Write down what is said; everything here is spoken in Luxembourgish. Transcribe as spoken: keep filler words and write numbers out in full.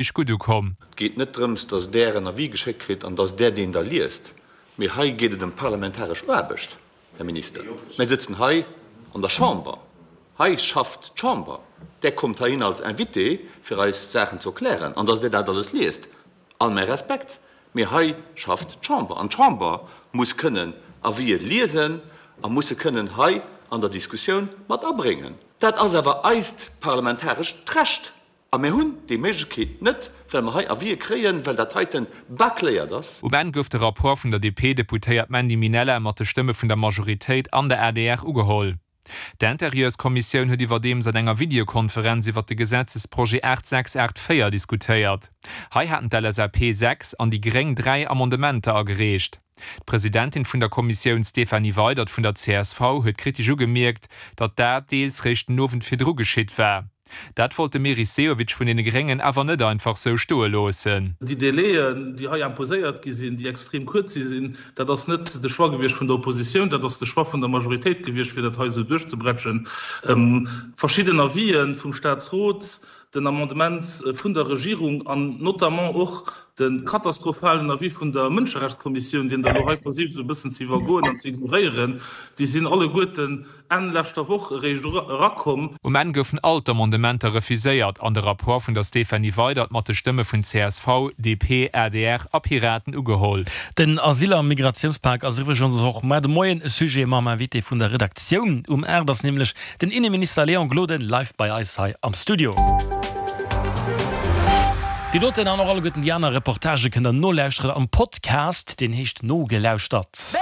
gutt ukomm. Et geet net drëms, dass Der en Avis geschéckt kritt an dass Der deen da liest, mee hei geet et ëm parlamentaresch Aarbecht, Här Minister. Mir sëtzen hei an der Chamber, hei schafft d'Chamber. Der kommt heihin als Invité, fir eis Saachen ze erklären, an dass Der dat alles liest, all mäi Respekt, mee hei schafft d'Chamber an d'Chamber muss kënnen Avisë liesen a muss se kënnen hei an der Diskussioun mat abréngen. Dat ass awer eist parlamentarescht Recht a mir hunn déi Méiglechkeet net, well mer hei Avisë kréien, well dat heiten bâcléiert ass. Um Enn gouf de Rapport vun der D P-Deputéiert Mandy Minella mat de Stëmme vun der Majoritéit an der A D R ugeholl. D'Intérieurskommissioun huet iwwerdeems an enger Videokonferenz iwwer de Gesetzesprojet aacht sechs aacht véier diskutéiert. Hei haten d'L S A P sechs an déi Gréng dräi Amendementer agereecht. D'Presidentin vun der Kommissioun Stéphanie Weydert vun der C S V huet kritesch ugemierkt, datt dat deels réischt den Owend virdru geschitt war. Dat wollt de Meris Sehovic vun deene Gréngen awer net einfach sou stoe loossen. Déi Délaiën, déi hei imposéiert gi sinn, déi extrem kuerz si sinn, dat ass net de Choix gewiescht vun der Oppositioun, dat ass de Choix vun der Majoritéit gewiescht, fir dat hei esou duerchzebretschen. Verschidden Avisë vum Staatsrot, den Amendement vun der Regierung an notamment och de katastrophalen Avis vun der Mënscherechtskommissioun, deen Der elo hei versicht esou e bëssen ze iwwergoen an ze ignoréieren, déi sinn alleguerten Enn leschter Woch eréischt erakomm. Um Enn goufen all d'Amendementer refuséiert an de Rapport vun der Stéphanie Weydert mat de Stëmme vun C S V, D P, A D R a Piraten ugeholl. Den Asyl a Migratiounspak ass iwwregens och muer de Moien e Sujet mam Invité vun der Redaktioun. Um aacht ass nämlech den Inneminister Léon Gloden live bei eis hei am Studio. Déi doten an och alleguerten déi aner Reportagë kënnt der nolauschteren am Podcast, deen heescht Nogelauschtert.